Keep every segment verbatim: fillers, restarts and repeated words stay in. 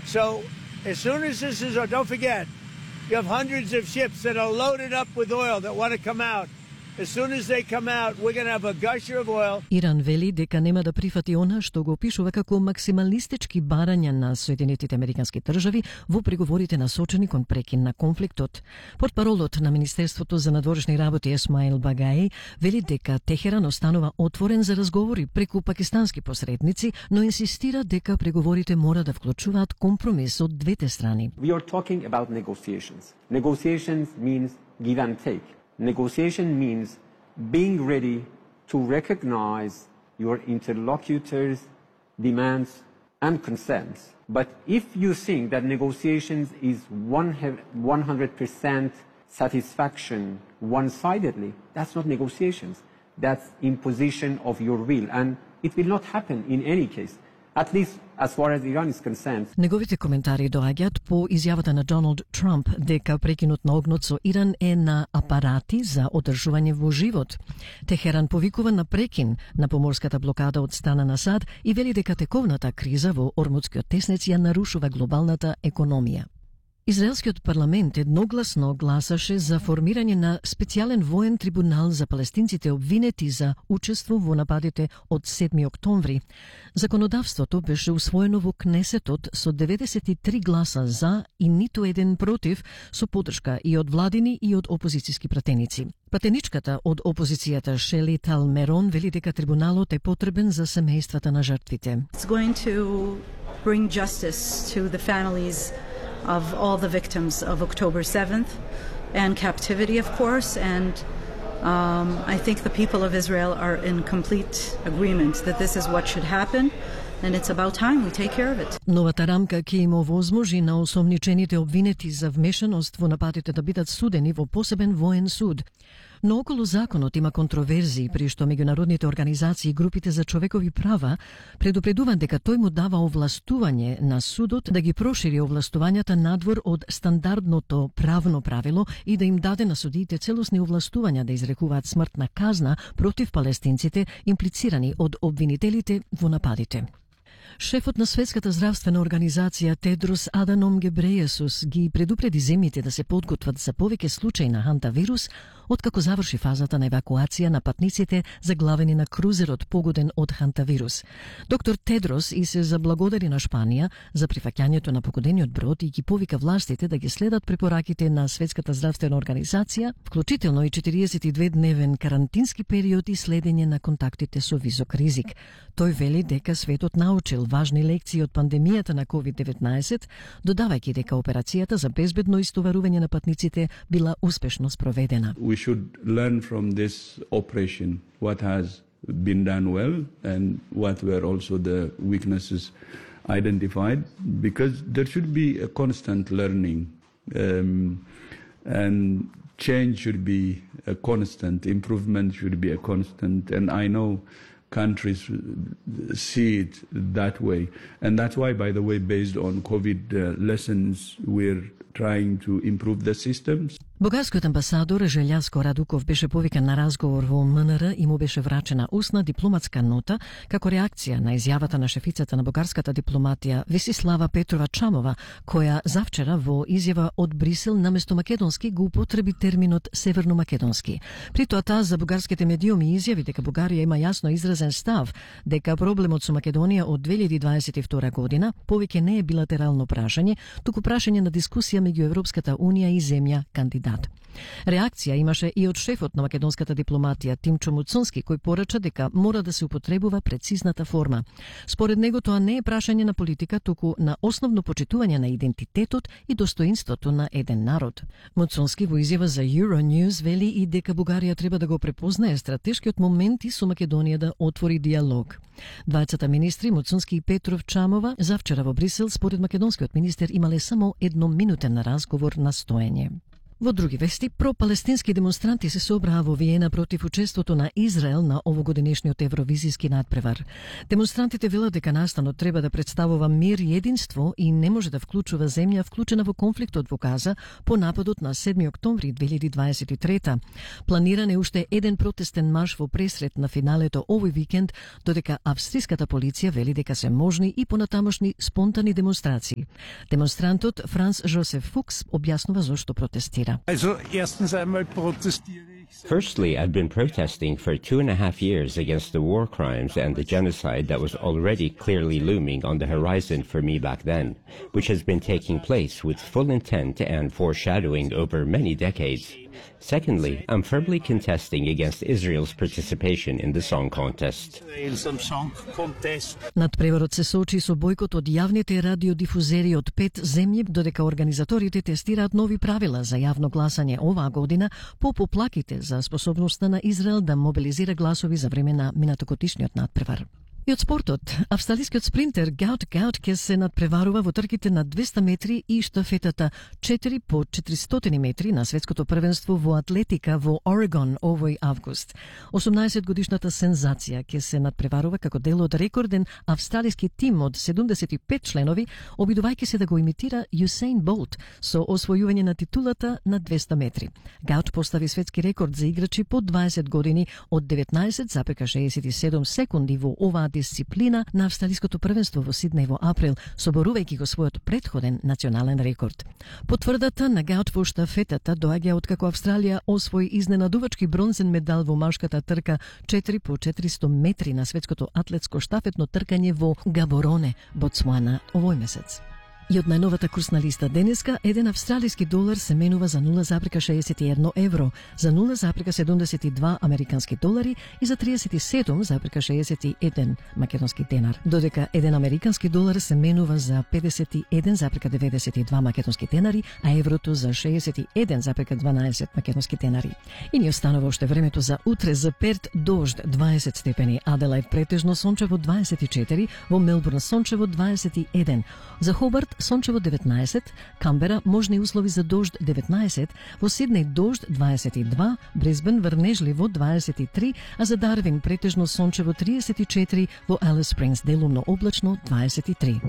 So as soon as this is, don't forget, you have hundreds of ships that are loaded up with oil that want to come out. As soon as they come out, we're going to have a gusher of oil. Иран вели дека нема да прифати она што го опишува како максималистички барања на Соединетите Американски држави во преговорите насочени кон прекин на конфликтот. Портпаролот на Министерството за надворешни работи Есмаил Багаи вели дека Техеран останува отворен за разговори преку пакистански посредници, но инсистира дека преговорите мора да вклучуваат компромис од двете страни. We are talking about negotiations. Negotiations means give and take. Negotiation means being ready to recognize your interlocutor's demands and concerns. But if you think that negotiations is one hundred percent satisfaction one-sidedly, that's not negotiations. That's imposition of your will, and it will not happen in any case. At least as far as Iran is concerned. Неговите коментари доаѓаат по изјавата на Доналд Трамп дека прекинот на огнот со Иран е на апарати за одржување во живот. Техеран повикува на прекин на поморската блокада од страна на САД и вели дека тековната криза во Ормудскиот теснец ја нарушува глобалната економија. Израелскиот парламент едногласно гласаше за формирање на специјален воен трибунал за палестинците обвинети за учество во нападите од седми октомври. Законодавството беше усвоено во Кнесетот со деветдесет и три гласа за и ниту еден против, со поддршка и од владини и од опозицијски пратеници. Пратеничката од опозицијата Шели Талмерон вели дека трибуналот е потребен за семејствата на жртвите. It's going to bring justice to the families of all the victims of October seventh and captivity, of course, and um, I think the people of Israel are in complete agreement that this is what should happen, and it's about time we take care of it. Новата рамка ќе им овозможи на осомничените обвинети за вмешаност во нападите да бидат судени во посебен воен суд. Но околу законот има контроверзии, при што меѓународните организации и групите за човекови права предупредуваат дека тој му дава овластување на судот да ги прошири овластувањата надвор од стандардното правно правило и да им даде на судиите целосни овластувања да изрекуваат смртна казна против палестинците имплицирани од обвинителите во нападите. Шефот на Светската здравствена организација Тедрос Аданом Гебрејесус ги предупреди земјите да се подготват за повеќе случаи на хантавирус, откако заврши фазата на евакуација на патниците заглавени на крузерот погоден од хантавирус. Доктор Тедрос и се заблагодари на Шпанија за прифаќањето на погодениот брод и ги повика властите да ги следат препораките на Светската здравствена организација, вклучително и четириесет и две дневен карантински период и следење на контактите со висок ризик. Тој вели дека светот научил важни лекции од пандемијата на ковид деветнаесет, додавајќи дека операцијата за безбедно истоварување на патниците била успешно спроведена. We should learn from this operation what has been done well and what were also the weaknesses identified, because there should be a constant learning um, and change should be a constant, improvement should be a constant, and I know countries see it that way. And that's why, by the way, based on COVID uh, lessons, we're trying to improve the systems. Бугарскиот амбасадор Желјаско Радуков беше повикан на разговор во МНР и му беше врачена устна дипломатска нота како реакција на изјавата на шефицата на бугарската дипломатија Весислава Петрова Чамова, која завчера во изјава од Брисел наместо македонски го употреби терминот северно-македонски. При тоа таа за бугарските медиуми изјави дека Бугарија има јасно изразен став дека проблемот со Македонија од две илјади дваесет и втора година повеќе не е билатерално прашање, туку прашање на дискусија меѓу Европската унија и земја кандидат. Реакција имаше и од шефот на македонската дипломатија Тимчо Муцунски, кој порача дека мора да се употребува прецизната форма. Според него тоа не е прашање на политика, туку на основно почитување на идентитетот и достоинството на еден народ. Муцунски во изјава за Euronews вели и дека Бугарија треба да го препознае стратешкиот момент и со Македонија да отвори диалог. Двајцата министри Муцунски и Петров Чамова завчера во Брисел според македонскиот министер имале само едноминутен разговор на стоење. Во други вести, пропалестински демонстранти се собраа во Виена против учеството на Израел на овогодинешниот евровизиски надпревар. Демонстрантите велат дека настанот треба да представува мир и единство и не може да вклучува земја вклучена во конфликтот во Газа по нападот на седми октомври две илјади дваесет и трета. Планиран е уште еден протестен марш во пресред на финалето овој викенд, додека австриската полиција вели дека се можни и понатамошни спонтани демонстрации. Демонстрантот Франц Жозеф Фукс објаснува зошто протестира. Firstly, I've been protesting for two and a half years against the war crimes and the genocide that was already clearly looming on the horizon for me back then, which has been taking place with full intent and foreshadowing over many decades. Secondly, I'm firmly contesting against Israel's participation in the song contest. Надпреварот се соочи со бојкот од јавните радиодифузери од пет земји, додека организаторите тестираат нови правила за јавно гласање оваа година по поплаките за способноста на Израел да мобилизира гласови за време на минатогодишниот надпревар. И од спортот, австралискиот спринтер Гоут Гоут ќе се надпреварува во трките на двеста метри и штафетата четири по четиристотини метри на светското првенство во атлетика во Орегон овој август. осумнаесет годишната сензација ќе се надпреварува како дел од рекорден австралиски тим од седумдесет и пет членови, обидувајќи се да го имитира Юсейн Болт со освојување на титулата на двеста метри. Гоут постави светски рекорд за играчи по дваесет години од деветнаесет запека шеесет и седум секунди во оваа дисциплина на австралиското првенство во Сиднеј во април, соборувајќи го својот претходен национален рекорд. Потврдата на Гоут во штафетата доаѓа откако Австралија освои изненадувачки бронзен медал во машката трка четири по четиристо метри на светското атлетско штафетно тркање во Габороне, Ботсуана, овој месец. И од најновата курсна листа денеска, еден австралиски долар се менува за нула запрека шеесет и едно евро, за нула запрека седумдесет и два американски долари и за триесет и седум запрека шеесет и еден македонски денар. Додека еден американски долар се менува за педесет и еден запрека деветдесет и два македонски денари, а еврото за шеесет и еден запрека дванаесет македонски денари. И ни останува уште времето за утре. За Перт дожд дваесет степени, Аделајд претежно сончево дваесет и четири, во Мелбурн сончево дваесет и еден, за Хобарт сончево деветнаесет, Камбера можни услови за дожд деветнаесет, во Сиднеј дожд дваесет и два, Брисбен врнежливо дваесет и три, а за Дарвин претежно сончево триесет и четири, во Алис Спрингс делумно облачно дваесет и три.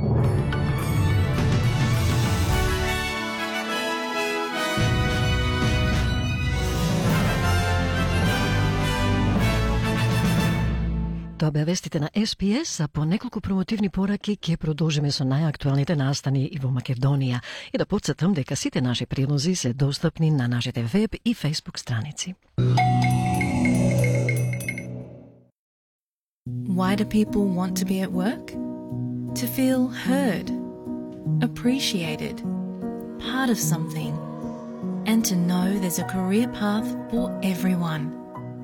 Тоа беа вестите на Ес Би Ес, а по неколку промотивни пораки ќе продолжиме со најактуелните настани и во Македонија. И да потсетам дека сите наши прилози се достапни на нашите веб и фејсбук страници. Why do people want to be at work? To feel heard, appreciated, part of something, and to know there's a career path for everyone.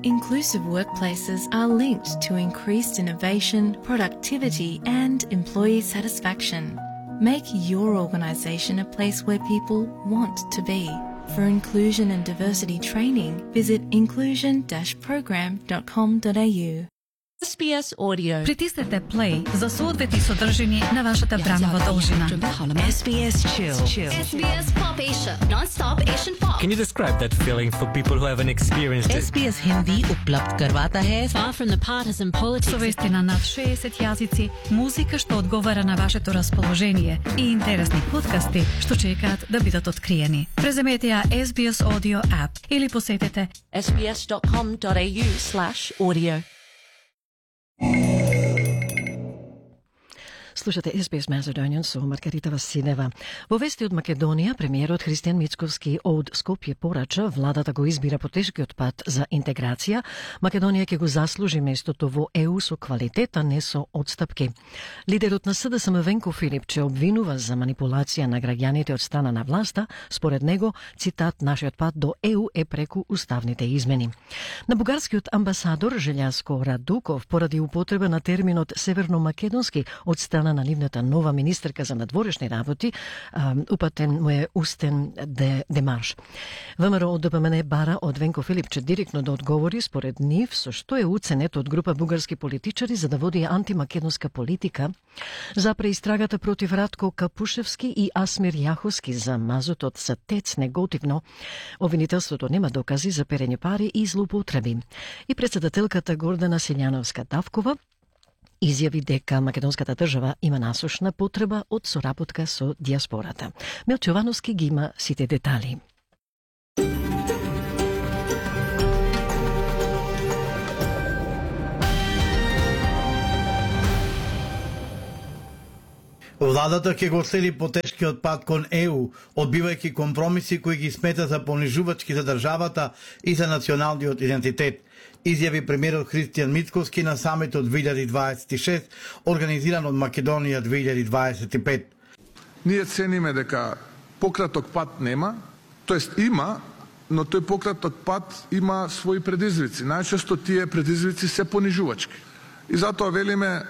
Inclusive workplaces are linked to increased innovation, productivity, and employee satisfaction. Make your organisation a place where people want to be. For inclusion and diversity training, visit inclusion dash program dot com dot a u. Ес Би Ес Audio. Притиснете play за соодветни содржини на вашата бранова должина. Ес Би Ес Chill. Ес Би Ес Pop Asia. Non-stop Asian pop. Can you describe that feeling for people who haven't experienced it? Ес Би Ес Hindi उपलब्ध करवाता है. Far from the partisan politics. Со вести на над шеесет јазици, музика што одговара на вашето расположение и интересни подкасти што чекаат да бидат откриени. Преземете ја Ес Би Ес Audio app или посетете ес би ес dot com dot a u slash audio. Слушате Ес Би Ес Macedonian со Маргарита Василева. Во вести од Македонија, премиерот Христијан Мицковски од Скопје порача владата го избира по тешкиот пат за интеграција. Македонија ќе го заслужи местото во Е У со квалитет, а не со одстапки. Лидерот на С Д С М Венко Филипче обвинува за манипулација на граѓаните од страна на власта. Според него, цитат, нашиот пат до Е У е преку уставните измени. На бугарскиот амбасадор Желјаско Радуков поради употреба на терминот северно-македонски од страна страна на нивната нова министерка за надворешни работи, упатен му е устен де, демарш. ВМРО од ДПМН бара од Венко Филипче директно да одговори според нив со што е уценет од група бугарски политичари за да води антимакедонска политика за преистрагата против Радко Капушевски и Асмир Јаховски за мазутот за ТЕЦ негативно. Обвинителството нема докази за перење пари и злоупотреби. И председателката Гордана Силјановска-Давкова изјави дека македонската држава има насушна потреба од соработка со диаспората. Милчо Јовановски ги има сите детали. Владата ќе го следи потешкиот пат кон Е У, одбивајќи компромиси кои ги смета за понижувачки за државата и за националниот идентитет, изјави премиерот Христијан Мицкоски на самитот две илјади дваесет и шест, организиран од Македонија две илјади дваесет и пет. Ние цениме дека пократок пат нема, тоест има, но тој пократок пат има своји предизвици. Најчесто тие предизвици се понижувачки. И затоа велиме,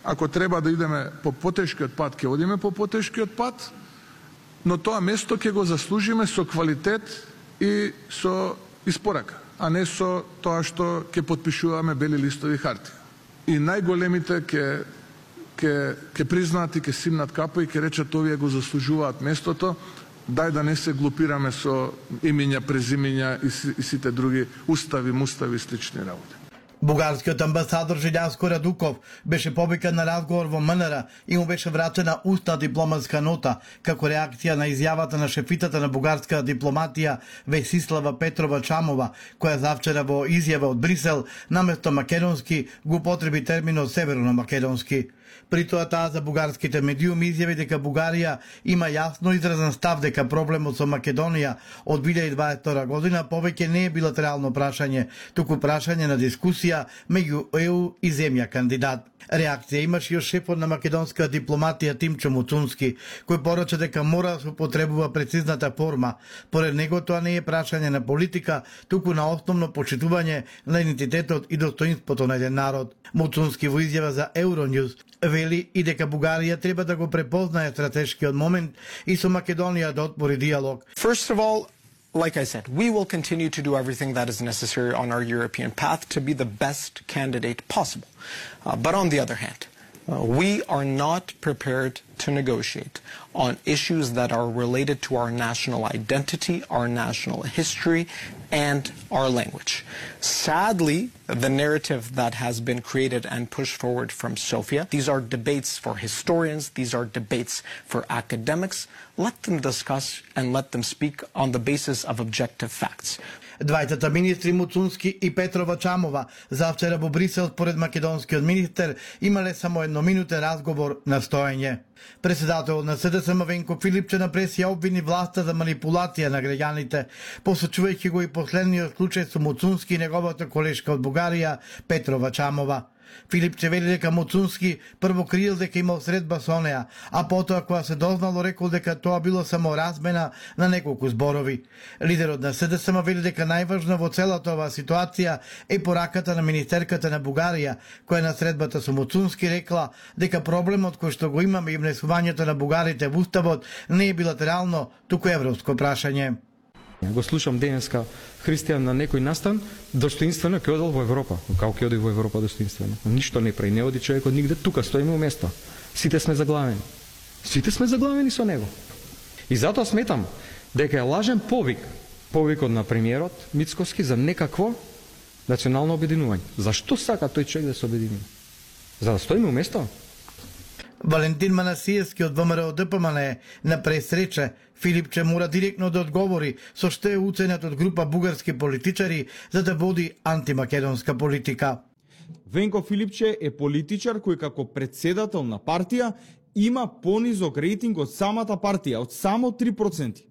ако треба да идеме по потешкиот пат, ќе одиме по потешкиот пат, но тоа место ќе го заслужиме со квалитет и со испорака, а не со тоа што ќе подпишуваме бели листови харти. И најголемите ќе ќе ќе признаат и ќе симнат капа и ќе речат овие го заслужуваат местото, дај да не се глупираме со имиња, презимиња и, и сите други устави, мустави и слични работи. Бугарскиот амбасадор Желјаско Радуков беше повикан на разговор во М Н Р и му беше врачена устна дипломатска нота како реакција на изјавата на шефитата на бугарска дипломатија Весислава Петрова Чамова, која завчера во изјава од Брисел наместо македонски го употреби терминот северно-македонски. При тоа таа за бугарските медиуми изјави дека Бугарија има јасно изразен став дека проблемот со Македонија од две илјади дваесет и втора година повеќе не е билатерално прашање, туку прашање на дискусија меѓу Е У и земја кандидат. Реакција имаше и од шефот на македонска дипломатија Тимчо Муцунски, кој порача дека мора да се употребува прецизната форма. Поред него тоа не е прашање на политика, туку на основно почитување на идентитетот и достоинството на еден народ. Муцунски во изјава за Euronews вели и дека Бугарија треба да го препознае стратешкиот момент и со Македонија да отвори диалог. First of all, like I said, we will continue to do everything that is necessary on our European path to be the best candidate possible. Uh, but on the other hand, uh, we are not prepared to negotiate on issues that are related to our national identity, our national history, and our language. Sadly, the narrative that has been created and pushed forward from Sofia, these are debates for historians, these are debates for academics. Let them discuss and let them speak on the basis of objective facts. Двајцата министри Муцунски и Петрова Чамова завчера во Брисел според македонскиот министер имале само едноминутен разговор на стоење. Председателот на С Д С М Венко Филипче на прес ја обвини власта за манипулација на граѓаните, посочувајќи го и последниот случај со Муцунски и неговата колешка од Бугарија Петрова Чамова. Филипче вели дека Муцунски прво криел дека имал средба со неа, а потоа кога се дознало рекол дека тоа било само размена на неколку зборови. Лидерот на С Д С М вели дека најважно во целата оваа ситуација е пораката на министерката на Бугарија, која на средбата со Муцунски рекла дека проблемот кој што го имаме и внесувањето на бугарите во уставот не е билатерално, туку европско прашање. Го слушам денеска Христијан на некој настан, достоинствено ќе одел во Европа. Како ќе оди во Европа достоинствено? Ништо не прави, не оди човекот нигде, тука стоиме у место. Сите сме заглавени. Сите сме заглавени со него. И затоа сметам дека е лажен повик, повикот на премиерот Мицкоски за некакво национално обединување. Зашто сака тој човек да се обедини? За да стоиме у место? Валентин Манасиевски од В М Р О Д П М Н на пресрече Филипче мора директно да одговори со што е уценет од група бугарски политичари за да води антимакедонска политика. Венко Филипче е политичар кој како председател на партија има понизок рейтинг од самата партија, од само три проценти.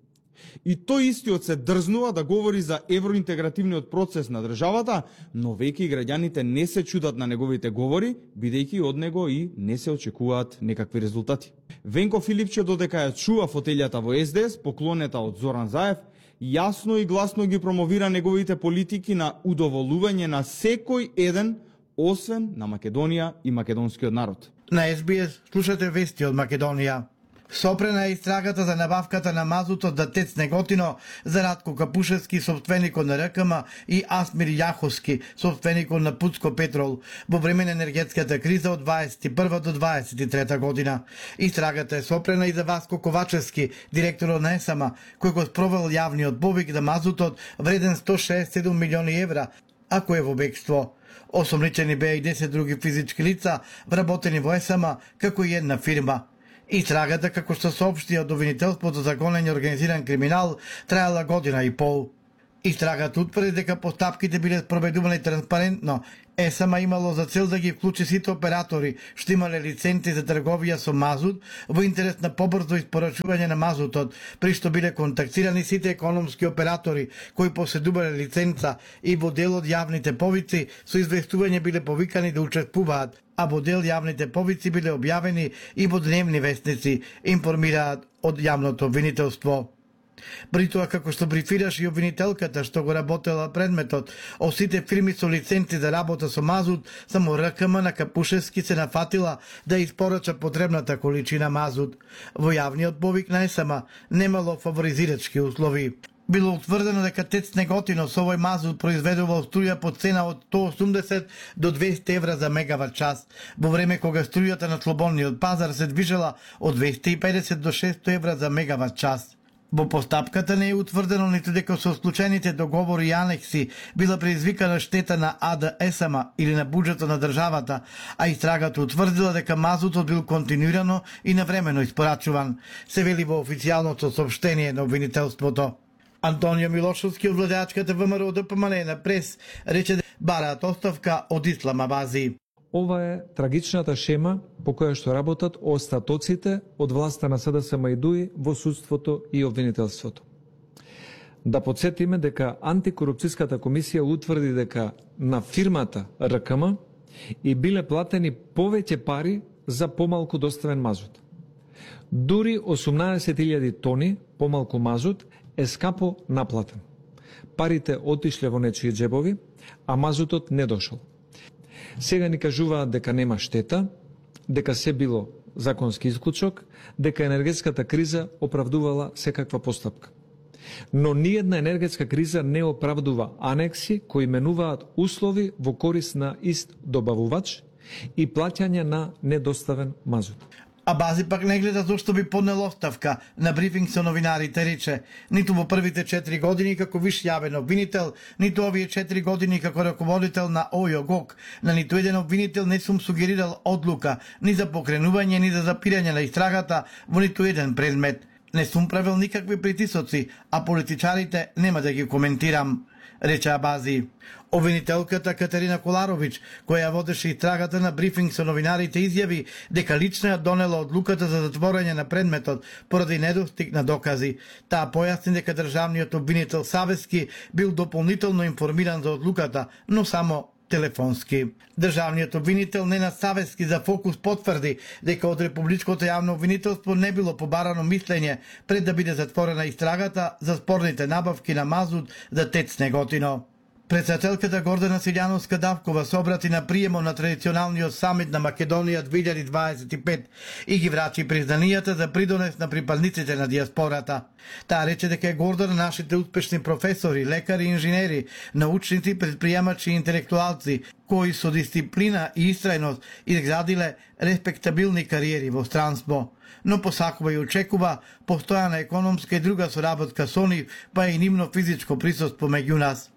И тој истиот се дрзнува да говори за евроинтегративниот процес на државата, но веќе граѓаните не се чудат на неговите говори, бидејќи од него и не се очекуваат некакви резултати. Венко Филипче, додека ја чува фотелјата во С Д С, поклонета од Зоран Заев, јасно и гласно ги промовира неговите политики на удоволување на секој еден, освен на Македонија и македонскиот народ. На Ес Би Ес слушате вести од Македонија. Сопрена е истрагата за набавката на мазутот за ТЕЦ Неготино за Радко Капушевски, собственикот на РКМ, и Асмир Јаховски, собственикот на Пуцко Петрол, во време на енергетската криза од дваесет и прва до дваесет и трета година. Истрагата е сопрена и за Васко Ковачевски, директорот на ЕСАМ, кој го спровел јавниот повик за мазутот вреден сто шеесет и седум милиони евра, а кој е во бегство. Осомничени беа и десет други физички лица, вработени во ЕСАМ, како и една фирма. Истрагата, како што соопшти од обвинителството за гонење организиран криминал, траела година и пол. Истрагата утврди дека постапките биле спроведувани транспарентно. ЕСАМ имало за цел да ги вклучи сите оператори што имале лиценци за трговија со мазут во интерес на побрзо испорачување на мазутот, при што биле контактирани сите економски оператори кои поседувале лиценца и во дел од јавните повици со известување биле повикани да учествуваат, а во дел јавните повици биле објавени и во дневни вестници, информираат од јавното обвинителство. При тоа, како што брифираш и обвинителката што го работела предметот, од сите фирми со лиценци за работа со мазут, само РКМ на Капушевски се нафатила да испорача потребната количина мазут. Во јавниот повик на ЕСАМ немало фаворизирачки услови. Било утврдено дека ТЕЦ Неготино со овој мазут произведувал струја по цена од сто осумдесет до двесте евра за мегават час, во време кога струјата на слободниот пазар се движела од двесте и педесет до шестстотини евра за мегават час. Во постапката не е утврдено ниту дека со склучените договори и анекси била предизвикана штета на АД ЕСАМ или на буџетот на државата, а истрагата утврдила дека мазутот бил континуирано и навремено испорачуван, се вели во официјалното соопштение на обвинителството. Антонио Милошовски од владеачката ВМРО ДПМН на прес рече дека бараат оставка од Исламабази. Ова е трагичната шема по која што работат остатоците од власта на СДСМ и ДУИ во судството и обвинителството. Да подсетиме дека антикорупцијската комисија утврди дека на фирмата РКМ и биле платени повеќе пари за помалку доставен мазут. Дури осумнаесет илјади тони помалку мазут е скапо наплатен. Парите отишле во нечии џебови, а мазутот не дошол. Сега ни кажуваат дека нема штета, дека се било законски исклучок, дека енергетската криза оправдувала секаква постапка. Но ниедна енергетска криза не оправдува анекси кои менуваат услови во корис на ист добавувач и плаќање на недоставен мазут. А Бази пак не гледа зошто би поднел оставка. На брифинг со новинарите рече: ниту во првите четири години како виш јавен обвинител, ниту овие четири години како раководител на ОЈО-ГОК, на ниту еден обвинител не сум сугерирал одлука ни за покренување, ни за запирање на истрагата во ниту еден предмет. Не сум правил никакви притисоци, а политичарите нема да ги коментирам, рече Абази. Обвинителката Катерина Коларовиќ, која водеше истрагата на брифинг со новинарите, изјави дека лично ја донела одлуката за затворање на предметот поради недостиг на докази. Таа појасни дека државниот обвинител Савески бил дополнително информиран за одлуката, но само телефонски. Државниот обвинител Ненад Савески за Фокус потврди дека од Републичкото јавно обвинителство не било побарано мислење пред да биде затворена истрагата за спорните набавки на мазут за ТЕЦ Неготино. Председателката Гордана Силјановска-Давкова се обрати на приемот на традиционалниот самит на Македонија две илјади дваесет и пет и ги врачи признанијата за придонес на припадниците на диаспората. Таа рече дека е горда на нашите успешни професори, лекари и инженери, научници, предприемачи и интелектуалци, кои со дисциплина и истрајност изградиле респектабилни кариери во странство. Но посакува и очекува постојана економска и друга соработка со нив, па и нивно физичко присуство меѓу нас.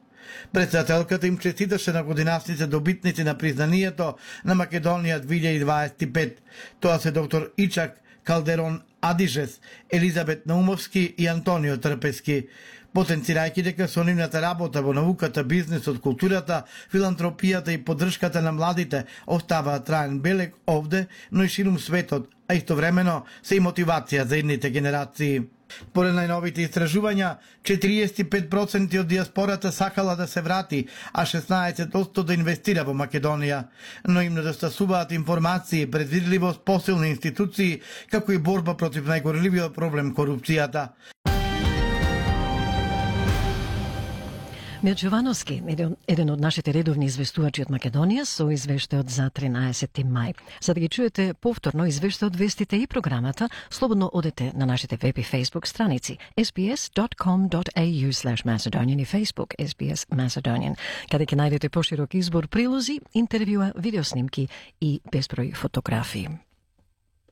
Председателката им честиташе на годинасните добитници на признанието на Македонија две илјади дваесет и пет. Тоа се доктор Ичак Калдерон Адижес, Елизабет Наумовски и Антонио Трпески. Потенцирајќи дека со нивната работа во науката, бизнисот, културата, филантропијата и поддршката на младите оставаат траен белег овде, но и ширум светот, а истовремено се и мотивација за идните генерации. Според најновите истражувања, четириесет и пет проценти од диаспората сакала да се врати, а шеснаесет проценти да инвестира во Македонија. Но им недостасуваат информации, предвидливост, посилни институции, како и борба против најгорливиот проблем корупцијата. Мирчо Јовановски, еден, еден од нашите редовни известувачи од Македонија, со извештајот за тринадесети мај. За да ги чуете повторно извештајот, вестите и програмата, слободно одете на нашите веб и Facebook страници ес би ес dot com dot a u slash Macedonian и Facebook ес би ес Macedonian, каде ќе најдете поширок избор прилози, интервјуа, видеоснимки и безброј фотографии.